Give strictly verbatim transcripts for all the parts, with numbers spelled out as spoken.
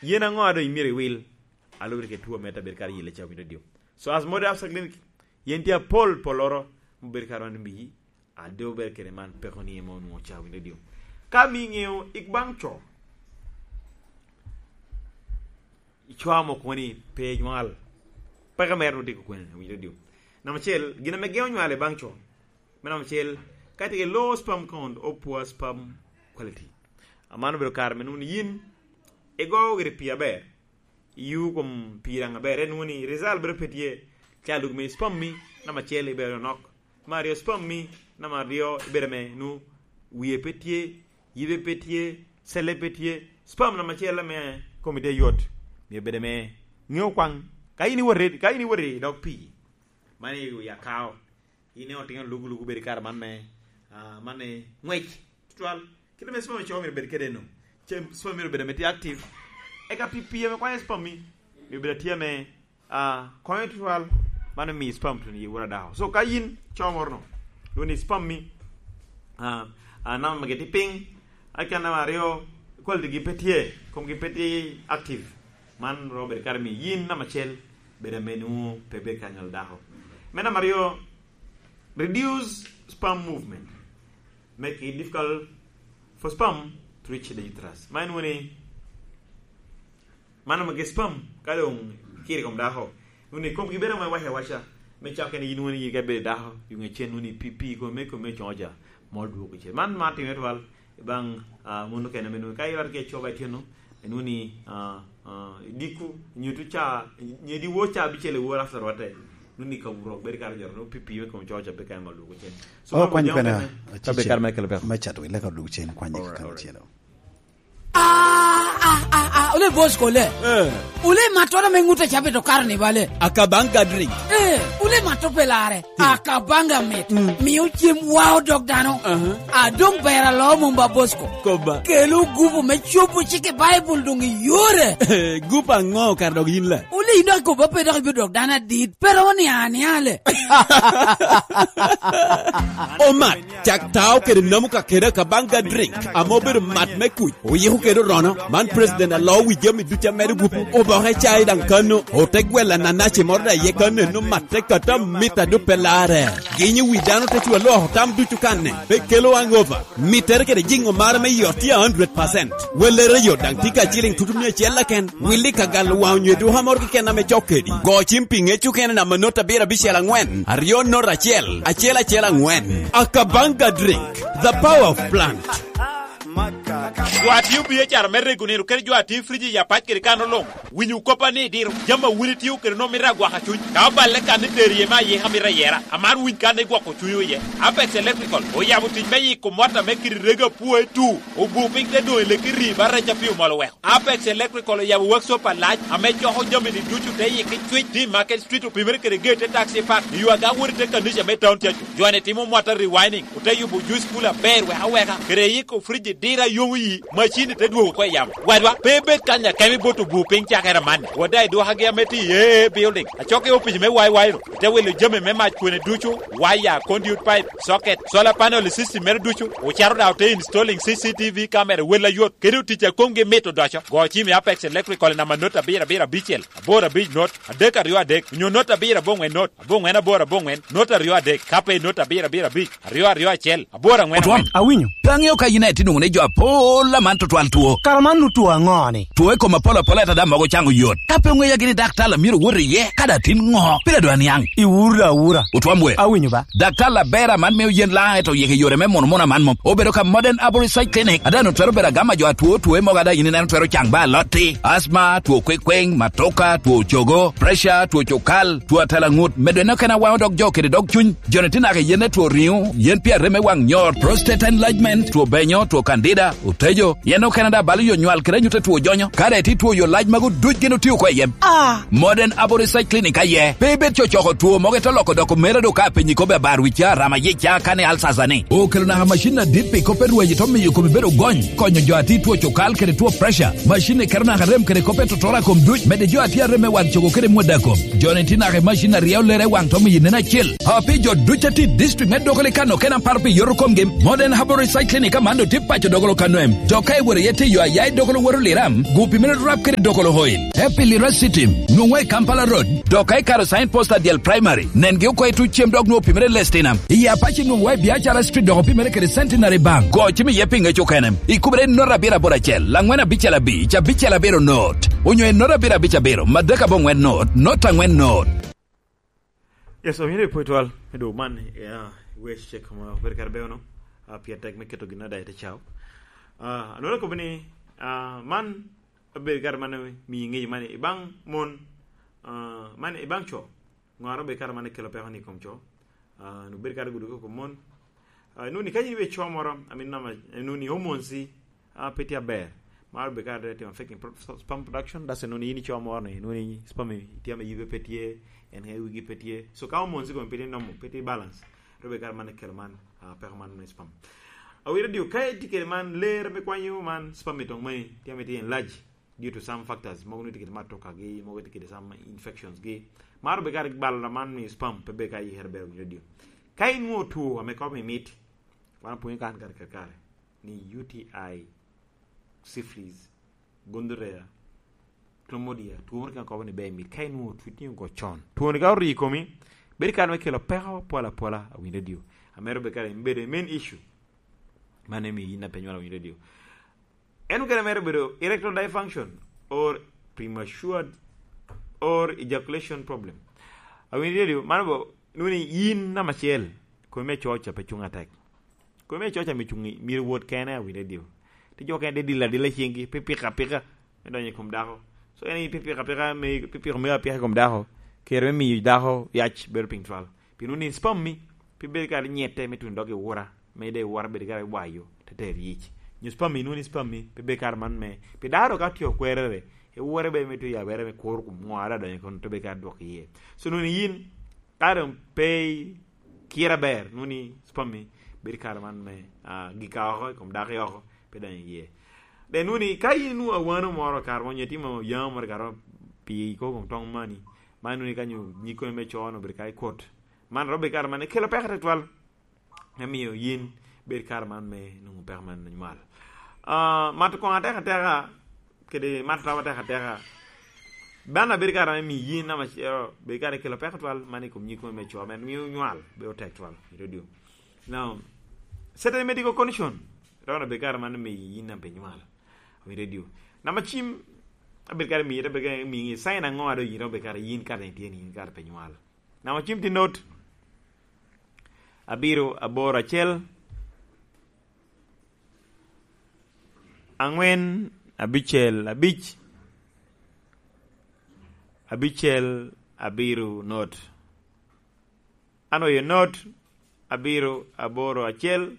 Yen aŋo a doŋ imyero iwil? Alubere kede two me tabet kara yelle ca winyo radio. So as modern after clinic, yen tye apol polloro, mubed kara wan mbiyi, a doŋ obed kede man peko ni ema onwoŋo ca winyo radio. Ka mi ŋeo ik baŋ co, ico amo kono ni pe nywal, peke mere nwoŋo tye kwene winyo radio. Namba acel, gin ame geo nywal i baŋ co, me namba acel, ka tye ki low sperm count or poor sperm quality. Amano obedo kare me nwoŋo ni yin igo gire pii aber, iyu kom pii daŋ aber, en nwoŋo ni result bedo pe tye, ca luk me sperm mi, namba acel ibedo nok, me aryo sperm mi, namba aryo ibedo me nwoŋo wie pe tye, yibe pe tye, celle pe tye, sperm namba acel ame komi tye yot, myero bedo me ŋeo kwaŋ, ka in iwot i, ka in iwot i dog pii, man i wi akao, in otino lugu lugu bedo i kare man me, ah, man ni ngwec tutwal. Kite me sperm cogo myero bed kede no. Ce sperm myero bed ame tye active. Eka pi pii ame kwanyo sperm mi, myero bed atye ame, ah, konyo tutwal. Man omiyo sperm tun i wura dako. So ka yin co moro no, lwongo ni sperm mi, ah, ah, namba magi tye piny. Eka namba aryo, quality gi pe tye, komgi pe tye active. Man romo bedo kare miyo yin namba acel bedo ame nwoŋo pe bed ka nywalo dako. Me namba aryo, reduce sperm movement, make it difficult for sperm to reach the uterus. Ma en woni, man omege sperm ka doŋ kiri kom dako, woni komgi bedo ame waca awaca, me cak kene yin woni yika ibedo dako, yung ecen woni pi, pi kome, kome coŋo ja, mol dwoko cen. Man, man timere twal, baŋ, ah, mon okene ame nwoŋo ka irwate ki ecoba ityeno, inwoŋo ni, ah, ah, idiko, nyo tu ca, nyo diwo ca abicel i wor after rwatte, inwoŋo ni ka wurok bedo kare joro, nwoŋo pi, pi me kom coco pe kare ma lwoko cen. So, oh, man kwany obiaŋo kwena, kene, ka be kare me kelo peko. Me cato i leka odwog cen, kwany i kare acel. Ah, ah, ah, ah, ole boss kole. Eh. Ole matto ame ŋut a cabe to karo ni bale. Akabanga drink. Eh, ole matto pe lare. Akabanga mit. Mm. Mio cem wao dog dano. Aha. A doŋ ber alo mom ba Bosco. Koba. Kelo gupu me cobo cik i Baibul doŋ i yore. Gupu aŋo kara dok yin la? Wuli dok koba pe dok ibino dok dano adit. Pe romo niaŋ aniaŋ le. Omat, cak tao kede namu ka kede Akabanga drink, ame obedo mat me kuc. Oyiko kede orono, man president alo wi jami ducu a medo gupu. Oboke cai daŋ kano, ote gwelo ananaci moro daŋ iye kano, eno matte kata mit a doŋ pe larre. Ginyo wi dano te cwa lwoko tam ducu kanne, pe kelo hangover. Mittere kede jiŋo mare me yot tye a hundred percent. Wellere yo daŋ tye ka ciliŋ tutu mia acel keken. Willi ka galo waŋ onyo eduka moro keken ame cok kedi. Go cim pi ŋec okene namba not abiro abicel aŋwen, aryo not acel, acel acel aŋwen. Akabanga drink, the power of plant. Jo a tio biacara me rego nino kede jo a tio i friji i apac kede kano luŋ, winyo koppa ni diro jami a wun itio kede nwoŋo mito agwaka cuny. Ka oballe kan ni tero iye me ayika mito ayera, amaro winy kan ni gwoko cunywu iye. Apex Electrical oyabo tic me yiko mot ame kite rego apwoe tu, obu piny te doŋ i leki rii ba rec a pii omol oweko. Apex Electrical oyabo workshop alac ame coko jami-ni ducu te yiki cwic, tye i Market Street, opimere kede geet te taxi park, i yo aga wot i te kanica me town tye aco. Jo-ni timo mwata rewinding, ote yubo juice cooler aber wek aweka, kede yiko friji diro a yomo yi, macin-ni te dwogo oko i yamo. Wadwa, pe ibed kany akemo ibot obu piny cakere amanni. Wot daŋ i dwokagi ame tye i A A A Building, acok i opic me Y Y ru, ite wilo jami me mac kwene ducu, waya, conduit pipe, socket, solar panel i system mere ducu, ocito daŋ ote installing C C T V camera wel ayot, kede otic a komgi mit odoco. Go cim i Apex Electrical i namba not abiro abiro abicel, aboro abic not, adek aryo adek, onyo not abiro aboŋwen not, aboŋwen aboro aboŋwen, not aryo adek, ka pe i not abiro abiro abic, aryo aryo acel, aboro aŋwen aŋwen. Otwom, awinyo. Pe aŋeo ka yin aye tye nwoŋo ni jo apol aman tutwal two. Kara man nu two aŋo-ni? Two i kom apol apol, ento daŋ mogo caŋo yot. Ka pe oŋeya gini daktar a myero wot iye, ka daŋ tin ŋo? Pire dwa niaŋ. Iwura awura. Otwom we. Awinyo ba. Daktar aber aman mio yen laŋ, ento yeke yore me mono mono aman mom. Obedo ka Modern Arborist Side Clinic, a daŋ twero bedo agama jo atwo, two mogo a daŋ yin ineno twero caŋ ba alotti, asma, two kwekweng, matoka, two cogo, pressure, two cokal, two atalaŋut, medo en okene awaŋo dog jo kede dog cuny. Jo-ni tye naka i yen me two riŋo, yen pi arem me waŋ nyor, prostate enlargement, two benyo, two candida, otejo, yen okene daŋ balo yo nywal kede anyut a two jonyo. Ka daŋ itye two yo lac magu duc gin otio oko i yem. Ah! Modern Abo Research Clinic aye. Pe ibed cocoko two mogo ite loko doko mere do ka apenyi kobbe abar wi ca, rama yic ca, kane alsasa ni. Okelo naka macin adit pi kop me rweny, to miyo kome bedo gony, konyo jo a tye two cokal kede two pressure. Macin-ni keto naka rem kede kop me totoro a kom duc, medde jo a tye arem me waŋ cogo kede mwada kom. Jo-ni tye naka i macin a ryeo lere i waŋ, to miyo inen acil. A pi jo duc a tye i district me Dogoli kano kena paro pi yoto komgi, Modern Herbal Research Clinic aman doŋ tye paco Dogolo kano Dok ka iworo iye te yo aya i Dokolo wot Oliram, gu pimere rap kede Dokolo Oil. Happy Lira City, nwoŋwa i Kampala Road, dok ka ikaro sign post adyel Primary, nengi oko i tuc cem dok nwoŋo pimere Lestina. I Apac nwoŋwa i Biacara Street dok opimere kede Centenary Bank. Go cim iye pi ŋec okene, ikubere i nota abiro aboro acel, laŋwen abicel abic, abicel abiro not, onyo i nota abiro abic abiro, madek aboŋwen not, not aŋwen not. Yes, omyero ipwod twal me dwogo man, ya, wec cek ma obedo kare beo no, ah, pien tek me keto gin ada i te cao. Ah, anwero kobo ni, ah, man obedo kare man miyo ŋeyo man i baŋ mon, ah, man i baŋ co. Ŋo a obedo kare man kelo peko ni i kom co? Ah, obedo kare gudo i kom mon. Ah, inwoni ka in ibe co moro, I mean, nama, inwoni hormones i, ah, pe tye aber. Maro bedo ka timo affecting pro-, sperm production, that's inwoni in ico moro ni, inwoni sperm i tye ame yibe pe tye, en ka wigi pe tye. So ka hormones i kome pe tye normal, pe tye balance, ro bedo kare man kelo man, ah, peko man me sperm. Awira dio, ka itye kede man, ler me kwanyo man, sperm i toŋ mani, tye ame tye enlarge due to some factors, mogo ni tye kede matoka gi, mogo tye kede some infections gi. Maro bedo kare bal man me sperm, pe bedo ka yikere ber winyo dio. Ka inwoŋo two ame kop i mit, wan opwonyo kan kare kare kare. Ni U T I, syphilis, gonorrhea, chlamydia, two moro kene kobo ni ber mit ka inwoŋo twitni ogo con. Twoni ka orii i komi, bedo kare me kelo peko pol apola, awinyo radio. Amero bedo kare bedo main issue. Man emi yin a pe nywalo awinyo radio. En okene mere bedo erectile dysfunction or premature or ejaculation problem. Awinyo radio, mano bo, nuni yin namba acel, komi me coca pe cuŋ atek. Komi me coca me cuŋ i, myero wot kene, awinyo dio. Ti jo kene de dilo adila ciŋgi, pe pika pika, me donyo i kom dako. So en i pe pika pika, me, pe piko me apika i kom dako, kere me miyo dako yac bedo piny twal. Pien wun i spam mi, pe bedo kare nyette me tuno dok i wura, me de wura bedo kare wayo, te tero yic. Nyo spam mi, nuni spam mi, pe bedo kare man me, pe daro ka tye okwerere, e wura bedo me tuyo abere me kuro kom ŋo ara donyo kono te bedo kare dwok iye. So nuni yin, ka dong pe i kira ber, nuni spam mi, bedo kare man me, ah, gika oko, i kom dako oko, pe donyo iye. De nuni, ka yin nwoŋo awano moro, kare mo nyo itimo yamo moro, kare mo pi iko kom toŋ mani, man nuni ka nyo nyig koni me co-nu obedo ka i kot. Man romo bedo kare man ekelo peko tutwal, me miyo yin bed kare man me nwoŋo peko man anywal. Ah, mato koŋ atek ateka, kede mato tawa atek ateka, ban abedo kare me miyo yin namba acel, bedo kare ekelo peko tutwal man i kom nyig koni me co, man miyo nywal bedo tek twal i radio. Now, certain medical condition, romo bedo kare man me yin namba pe nywal. Awinyo radio. Namba cim, abedo kare miyo, abedo kare miyo sign aŋo a doŋ yin romo bedo kare yin kare itye ni yin kare pe nywal. Namba cim tye not, abiro, aboro, acel, aŋwen, abicel, abic, abicel, abiro, not. Anwoyo not, abiro, aboro, acel,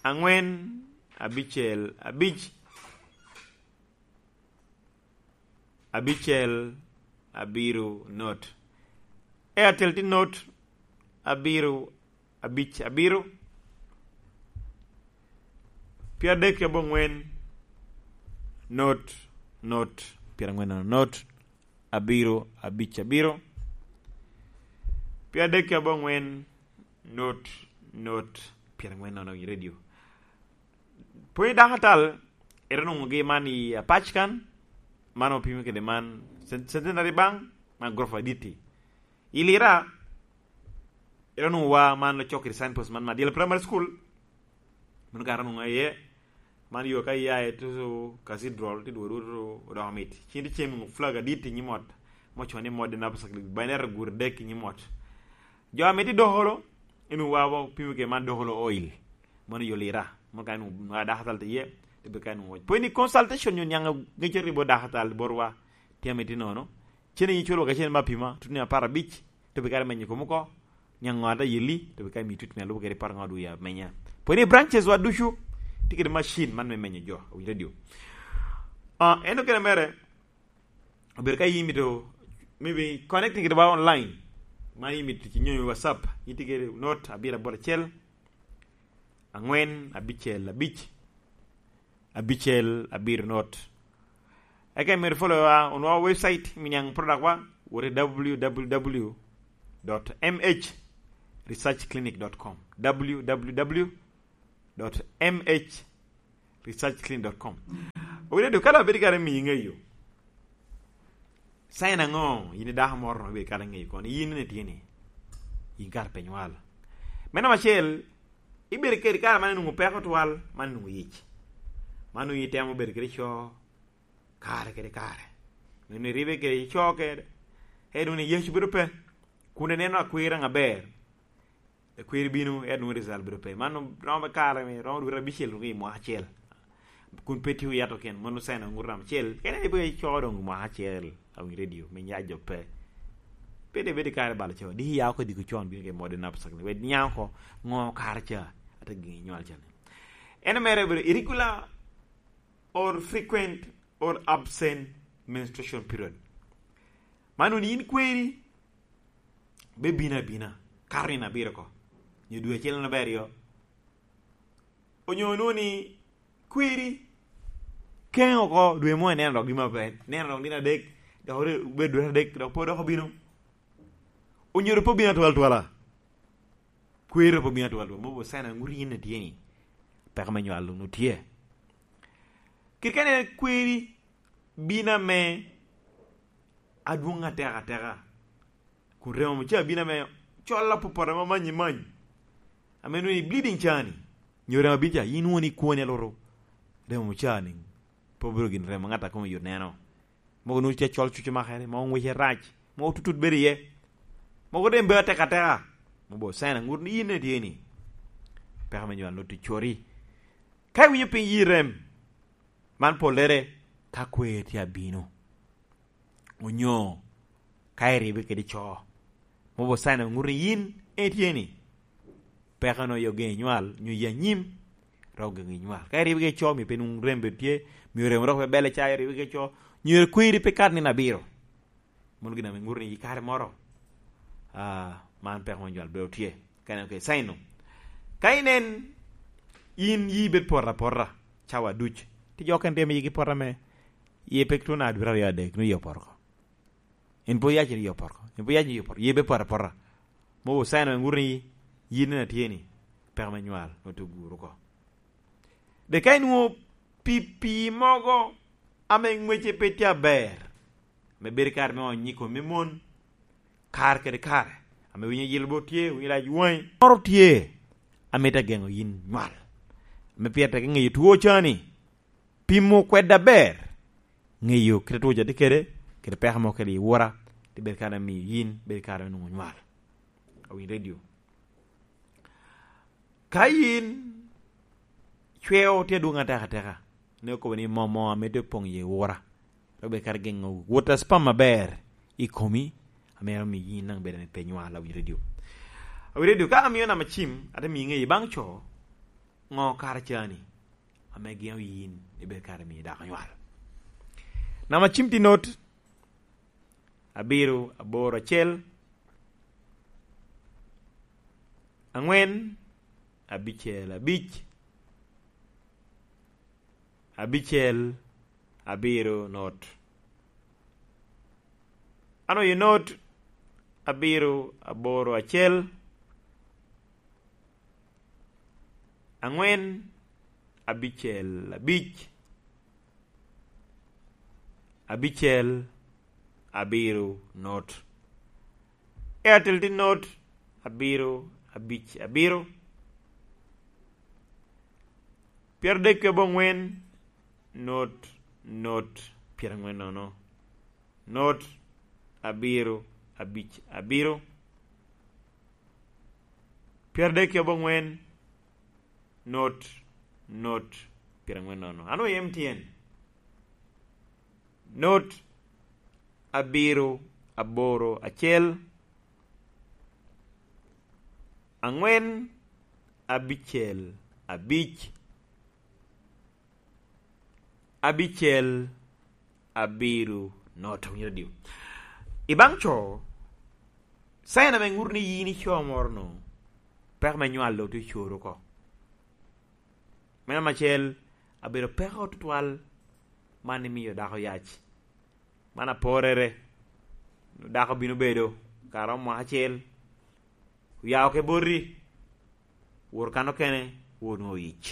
aŋwen, abicel, abic, abicel, abiro, not. Airtel tye not, abiro, abic, abiro, pyeradek ki aboŋwen, not, not, pyeraŋwen, not, abiro, abic, abiro, pyeradek ki aboŋwen, not, not, pyeraŋwen nono i radio. Pwony dakatal, ero nwoŋogi man i Apac kan, man opimo kede man Cen-, Centenary Bank, man gorofa adit-ti. I Lira, ero nwoŋo wa man ocok kede signpost man Madiela Primary School, mano kara nwoŋo aye, man yo ka iya i tutu Cathedral, ti dwogo dwogo tutu odoko mit. Cin ti cem nwoŋo flag adit i nyim ot, mo cono ni Modern Apostolic Binary gure dek i nyim ot. Jo ame tye Dokolo, en owa opimo kede man Dokolo Oil. Mano yo Lira. Mano ka en owa dakatal tye iye, te bedo ka en owa. Pwony ni consultation nyo niaŋ ŋec aribo dakatal botwa, tye ame tye nono. Cen iculo ka cen me apima, tut ni apar abic, te bedo ka menyo kom oko. Niaŋ ŋo ata yeli, te bedo ka miyo tut me alubo kede apar ŋo dwe amenya. Pwony ni branches wa ducu, tye kede machine man me menyo jo, owinyo radio. Ah, en okene mere, obedo ka in imito, maybe connecting kede wa online, ma in imito tic nyonyo WhatsApp, in tye kede not abiro aboro acel, aŋwen abicel abic, abicel abiro not. Eka imito follow wa, onwoŋo website, mi niaŋ product wa, wot i w w w dot m h research clinic dot com, w w w dot m h research clinic dot com. dot M H research clean dot com. Owinyo dok ka dok abedo kare miyo iŋeyo, sign aŋo yin i dako moro dok ibedo kare ŋeyo kono yin ne tye ni yin kare pe nywal? Me namba acel, ibedo kede kare man inwoŋo peko twal, man inwoŋo yic, man onwoŋo itemo bedo kede co kare kede kare, nwoŋo iribe kede co kede, en nwoŋo ni Yecu bedo pe, kun ineno akwira ŋa ber, akwiri bino, en nwoŋo result bedo pe. Man romo kare me, romo dwe abicel nwoŋo i mwaka acel, kun pe tye oyato ken, mano sign aŋuto namba acel. Kene ni pe ico doŋ mwaka acel, awinyo redio me nyac jo pe. Pe de bedo kare balo co, diki ya oko diko con bino ke mode napsak ni, wed niaŋ oko, ŋo kare ca, ate giŋ inywal ca ni. En mere bedo irregular or frequent or absent menstruation period. Man onwoŋo yin kweri be bino abina, kato nino abiro oko, nyo dwe acel nino abiro, onyo onwoŋo ni kweri keŋ oko dwe mo ineno dok gin maber, ineno dok nino adek, dok obedo dwe adek, dok pe odoko bino, onyero pe obino atwal twala. Kweri pe obino atwal twala, mogo sign aŋuto yin ne tye ni peko me nywal onwoŋo tye. Kit kene kweri bino ame adwoŋ ateka ateka, kun remo ca bino ame col apopoto ame amanyi many, ame nwoŋo i bleeding ca ni, nyo remo abino ca, yin won ikwoni aluru, remo ca ni pe obedo gin remo ŋat a kome yot neno. Mogo nwoŋo tye acol cuc omakere, mogo ŋwece rac, mogo tutut bedo iye, mogo dem bedo ateka ateka, mogo sign aŋut ni yin ne tye ni peko me nywal nwoŋo tye cori. Ka iwinyo piny yi rem, man pollere ka kwer tye abino, onyo ka iribe kede co, mogo sign aŋut ni yin en tye ni peko nwoŋo i ogeŋo inywal, nyo i anyim, dok ogeŋo inywal. Ka iribe kede co, mio pe nwoŋo rem bedo tye, mio remo dok pe belle ca iribe kede co, nyo kweri pe kat nino abiro. Mano gin ame ŋuto ni i kare moro, ah, man peko me nywal bedo tye. Ka inen, okay, sign-nu. Ka inen, yin yi bed poto apota, cawa duc. Tye jo okene tye ame yigi poto ame yie pe tuno dwe aryo adek, nwoŋo yie opoto oko. En pe oyac ni yie opoto oko. En pe oyac ni yie opoto. Yie bed poto apota. Mogo sign ame ŋuto ni yin en atye ni peko me nywal nwoŋo tye oguro oko. De ka inwoŋo pi-, pii mogo ame ŋwece pe tye aber, ame bedo kare me onyo i kom me mon, kare kede kare, ame winyo yil bot tye, winyo lac waŋi, moro tye ame te geŋo yin nywal, ame pire tek ŋeyo two ca ni, pimo kwede aber, ŋeyo kite two ca tye kede, kede peko mo kede i wora, te bedo kare me miyo yin bedo kare me nwoŋo nywal. Awinyo redio. Ka yin cweo tye adwoŋ ateka ateka, ne okobo ni moo moo ame tye opoŋ i wora, dok bed kare geŋo wot a spam aber i komi, ame ero miyo yin daŋ bedo ame pe nywal, awinyo redio. Awinyo redio, ka amio namba cim, ate miyo ŋeyo baŋ co, ŋo kare ca ni ame geŋo yin ibed kare miyo dako nywal. Namba cim tye not, abiro, aboro, acel, aŋwen, abicel, abic, abicel, abiro, not. Ano ye not, abiro, aboro, acel, aŋwen, abicel, abic, abicel, abiro, not. Airtel tye not, abiro, abic, abiro. Pyeradek ki aboŋwen, not, not, pyeraŋwen nono. Not, abiro, abic, abiro. Pyeradek ki aboŋwen, not, not, pyeraŋwen nono. Ano i M T N? Not, abiro, aboro, acel, aŋwen, abicel, abic, abicel, abiro, not. Awinyo redio. I baŋ co, sign ame ŋuto ni yin ico moro-nu, peko me nywal doŋ tye ocoro oko. Me namba acel, abedo peko tutwal man imio dako yac. Man aporere. Dako bino bedo ka romo mwaka acel, oya oko i boti, wot kan okene, onwoŋo yic.